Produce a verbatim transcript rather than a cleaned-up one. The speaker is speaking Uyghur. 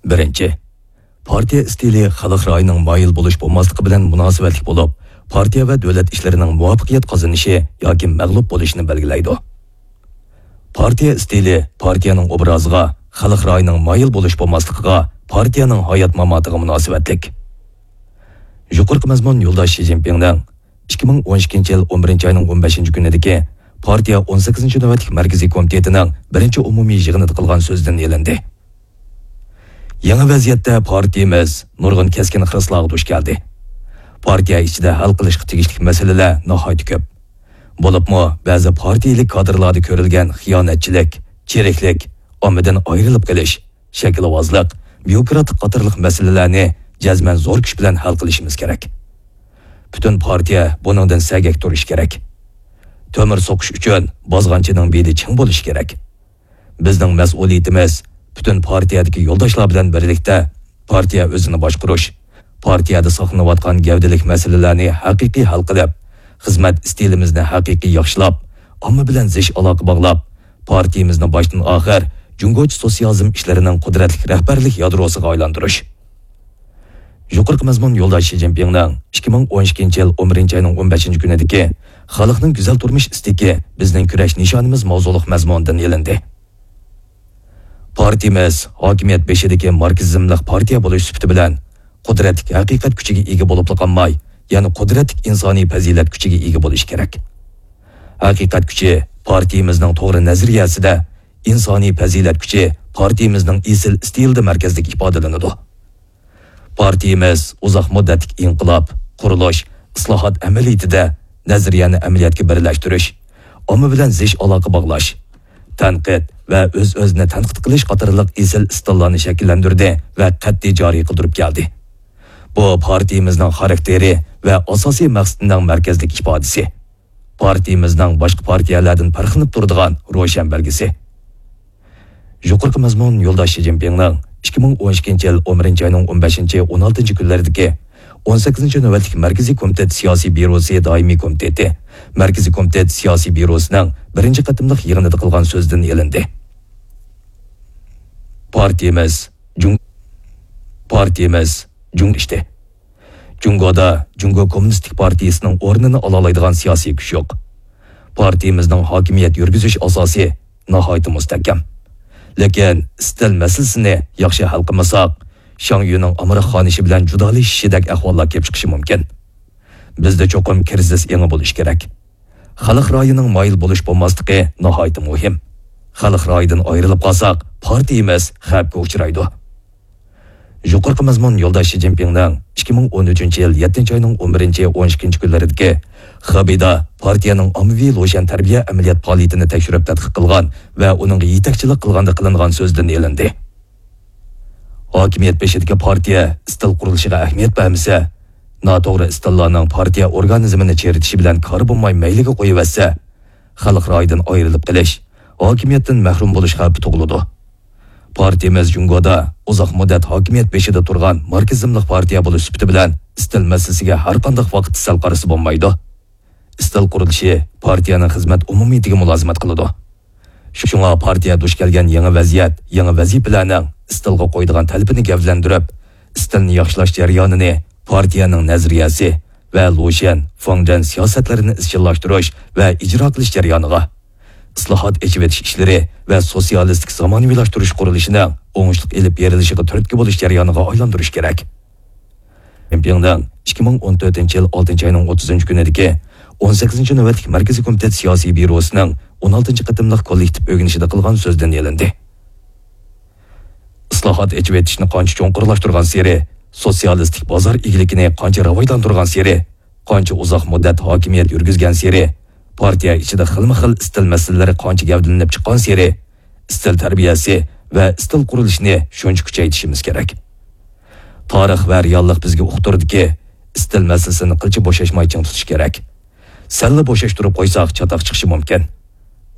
بىرىنچى، پارتىيە ئىستىلى خەلق رايىنىڭ مايىل بولۇش بولماسلىقى بىلەن مۇناسىۋەتلىك بولۇپ، پارتىيە ۋە دۆلەت ئىشلىرىنىڭ مۇۋەپپەقىيەت قازىنىشى ياكى مەغلۇپ بولۇشىنى بەلگىلەيدۇ. پارتىيە ئىستىلى پارتىيەنىڭ ئوبرازىغا، خەلق رايىنىڭ مايىل بولۇش بولماسلىقىغا، پارتىيەنىڭ ھايات-ماماتىغا مۇناسىۋەتلىك. يۇقىرىقى مەزمۇن يولداش شى جىنپىڭنىڭ ئىككى مىڭ ئون ئىككىنچى يىل ئون بىرىنچى ئاينىڭ ئون بەشىنچى كۈنىدىكى پارتىيە ئون سەككىزىنچى نۆۋەتلىك مەركىزىي كومىتېتىنىڭ بىرىنچى ئومۇمىي يىغىنىدا قىلغان سۆزىدىن ئېلىندى. يېڭى ۋەزىيەتتە پارتىيىمىز نۇرغۇن كەسكىن خىرىسلارغا دۇچ كەلدى. پارتىيە ئىچىدە ھەل قىلىشقا تېگىشلىك مەسىلىلەر ناھايىتى كۆپ. بولۇپمۇ بەزى پارتىيىلىك كادىرلاردا كۆرۈلگەن خىيانەتچىلىك، چىرىكلىك، ئاممىدىن ئايرىلىپ قېلىش، شەكىلۋازلىق، بيۇروكراتلىق قاتارلىق مەسىلىلەرنى جەزمەن زور كۈچ بىلەن ھەل قىلىشىمىز كېرەك. پۈتۈن پارتىيە بۇنىڭدىن سەگەك تۇرۇشى كېرەك. تۆمۈر سوقۇش ئۈچۈن بازغانچىنىڭ بېلى چىڭ بولۇشى كېرەك. بىزنىڭ مەسئۇلىيىتىمىز پۈتۈن پارتىيەدىكى يولداشلار بىلەن بىرلىكتە پارتىيە ئۆزىنى باشقۇرۇش، پارتىيەدە ساقلىنىۋاتقان گەۋدىلىك مەسىلىلەرنى ھەقىقىي ھەل قىلىپ، خىزمەت ئىستىلىمىزنى ھەقىقىي ياخشىلاپ، ئامما بىلەن زىچ ئالاقە باغلاپ، پارتىيىمىزنى باشتىن ئاخىر جۇڭگوچە سوتسىيالىزم ئىشلىرىنىڭ قۇدرەتلىك رەھبەرلىك يادروسىغا ئايلاندۇرۇش. يۇقىرىقى مەزمۇن يولداش شى جىنپىڭنىڭ ئىككى مىڭ ئون ئىككىنچى يىل ئون بىرىنچى ئاينىڭ ئون بەشىنچى كۈنىدىكى خەلقنىڭ گۈزەل تۇرمۇش ئىستىكى بىزنىڭ كۈرەش نىشانىمىز ماۋزۇلۇق مەزمۇندىن ئېلىندى. پارتىيىمىز ھاكىمىيەت بېشىدىكى ماركسىزملىق پارتىيە بولۇش سۈپىتى بىلەن قۇدرەتلىك ھەقىقەت كۈچىگە ئىگە بولۇپلا قالماي، يەنە قۇدرەتلىك ئىنسانىي پەزىلەت كۈچىگە ئىگە بولۇشى كېرەك. ھەقىقەت كۈچى پارتىيىمىزنىڭ توغرا نەزەرىيەسىدە، ئىنسانىي پەزىلەت كۈچى پارتىيىمىزنىڭ ئېسىل ئىستىلىدا مەركەزلىك ئىپادىلىنىدۇ. پارتىيىمىز ئۇزاق مۇددەتلىك ئىنقىلاب، قۇرۇلۇش، ئىسلاھات ئەمەلىيىتىدە نەزەرىيەنى ئەمەلىيەتكە بىرلەشتۈرۈش، ئامما بىلەن زىچ ئالاقە باغلاش، تەنقىد ۋە ئۆز-ئۆزىنى تەنقىد قىلىش قاتارلىق ئېسىل ئىستىللارنى شەكىللەندۈردى ۋە قەتئىي جارى قىلدۇرۇپ كەلدى. بۇ پارتىيىمىزنىڭ خاراكتېرى ۋە ئاساسىي مەقسىتىنىڭ مەركەزلىك ئىپادىسى. پارتىيىمىزنىڭ باشقا پارتىيەلەردىن پەرقلىنىپ تۇرىدىغان روشەن بەلگىسى. يۇقىرىقى مەزمۇن يولداش شى جىنپىڭنىڭ ئىككى مىڭ ئون ئىككىنچى يىل ئون بىرىنچى ئاينىڭ ئون بەشىنچى، ئون ئالتىنچى كۈنلىرىدىكى ئون سەككىزىنچى نۆۋەتلىك مەركىزىي كومىتېت سىياسىي بيۇروسى دائىمىي كومىتېتى، مەركىزىي كومىتېت سىياسىي بيۇروسىنىڭ بىرىنچى قېتىملىق يىغىنىدا قىلغان سۆزىدىن ئېلىندى. پارتىيىمىز جۇڭ-، پارتىيىمىز جۇڭ ئىشتى. جۇڭگودا جۇڭگو كوممۇنىستىك پارتىيىسىنىڭ ئورنىنى ئالالايدىغان سىياسىي كۈچ يوق. پارتىيىمىزنىڭ ھاكىمىيەت يۈرگۈزۈش ئاساسى ناھايىتى مۇستەھكەم. لېكىن ئىستىل مەسىلىسىنى ياخشى ھەل قىلمىساق، شاڭ يۈنىڭ ئامراق خانىشى بىلەن جۇدالىشىشىدەك ئەھۋاللار كېلىپ چىقىشى مۇمكىن. بىزدە چوقۇم كىرىزىس ئېڭى بولۇشى كېرەك. خەلق رايىنىڭ مايىل بولۇش بولماسلىقى ناھايىتى مۇھىم. خەلق رايىدىن ئايرىلىپ قالساق، پارتىيىمىز خەۋپكە ئۇچرايدۇ. يۇقىرىقى مەزمۇن يولداش شى جىنپىڭنىڭ ئىككى مىڭ ئون ئۈچىنچى يىل يەتتىنچى ئاينىڭ ئون بىرىنچى، ئون ئىككىنچى كۈنلىرىدىكى خېبېيدا پارتىيەنىڭ ئاممىۋى لۇشيەن تەربىيە ئەمەلىيەت پائالىيىتىنى تەكشۈرۈپ تەتقىق قىلغان ۋە ئۇنىڭغا يېتەكچىلىك قىلغاندا قىلىنغان سۆزىدىن ئېلىندى. ھاكىمىيەت بېشىدىكى پارتىيە ئىستىل قۇرۇلۇشىغا ئەھمىيەت بەرمىسە، ناتوغرا ئىستىللارنىڭ پارتىيە ئورگانىزمىنى چىرىتىشى بىلەن كارى بولماي مەيلىگە قويۇۋەتسە، خەلق رايىدىن ئايرىلىپ قېلىش، ھاكىمىيەتتىن مەھرۇم بولۇش خەۋپى تۇغۇلىدۇ. پارتىيىمىز جۇڭگودا ئۇزاق مۇددەت ھاكىمىيەت بېشىدا تۇرغان ماركسىزملىق پارتىيە بولۇش سۈپىتى بىلەن ئىستىل مەسىلىسىگە ھەرقانداق ۋاقىتتا سەل قارىسا بولمايدۇ. ئىستىل قۇرۇلۇشى پارتىيەنىڭ خىزمەت ئومۇمىيىتىگە مۇلازىمەت قىلىدۇ. شۇڭا پارتىيە دۇچ كەلگەن يېڭى ۋەزىيەت، يېڭى ۋەزىپىلەرنىڭ ئىستىلغا قويىدىغان تەلىپىنى گەۋدىلەندۈرۈپ، ئىستىلنى ياخشىلاش جەريانىنى پارتىيەنىڭ نەزەرىيەسى ۋە لۇشيەن، فېڭجەن سىياسەتلىرىنى ئىزچىللاشتۇرۇش ۋە ئىجرا قىلىش جەريانىغا، ئىسلاھات، ئېچىۋېتىش ئىشلىرى ۋە سوتسىيالىستىك زامانىۋىلاشتۇرۇش قۇرۇلۇشىنىڭ ئوڭۇشلۇق ئېلىپ بېرىلىشىغا تۈرتكە بولۇش جەريانىغا ئايلاندۇرۇش كېرەك. جىنپىڭنىڭ ئىككى مىڭ ئون تۆتىنچى يىل ئالتىنچى ئاينىڭ ئوتتۇزىنچى كۈنىدىكى ئون سەككىزىنچى نۆۋەتلىك مەركىزىي كومىتېت سىياسىي بيۇروسىنىڭ ئون ئالتىنچى قېتىملىق كوللېكتىپ ئۆگىنىشىدە قىلغان سۆزىدىن ئېلىندى. ئىسلاھات، ئېچىۋېتىشنى قانچە چوڭقۇرلاشتۇرغانسېرى، سوتسىيالىستىك بازار ئىگىلىكىنى قانچە راۋاجلاندۇرغانسېرى، قانچە ئۇزاق مۇددەت ھاكىمىيەت يۈرگۈزگەنسېرى، پارتىيە ئىچىدە خىلمۇ خىل ئىستىل مەسىلىلىرى قانچە گەۋدىلىنىپ چىققانسېرى، ئىستىل تەربىيەسى ۋە ئىستىل قۇرۇلۇشىنى شۇنچە كۈچەيتىشىمىز كېرەك. تارىخ ۋە رېئاللىق بىزگە ئۇقتۇردىكى، ئىستىل مەسىلىسىنى قىلچە بوشاشماي چىڭ تۇتۇش كېرەك. سەللا بوشاشتۇرۇپ قويساق، چاتاق چىقىشى مۇمكىن.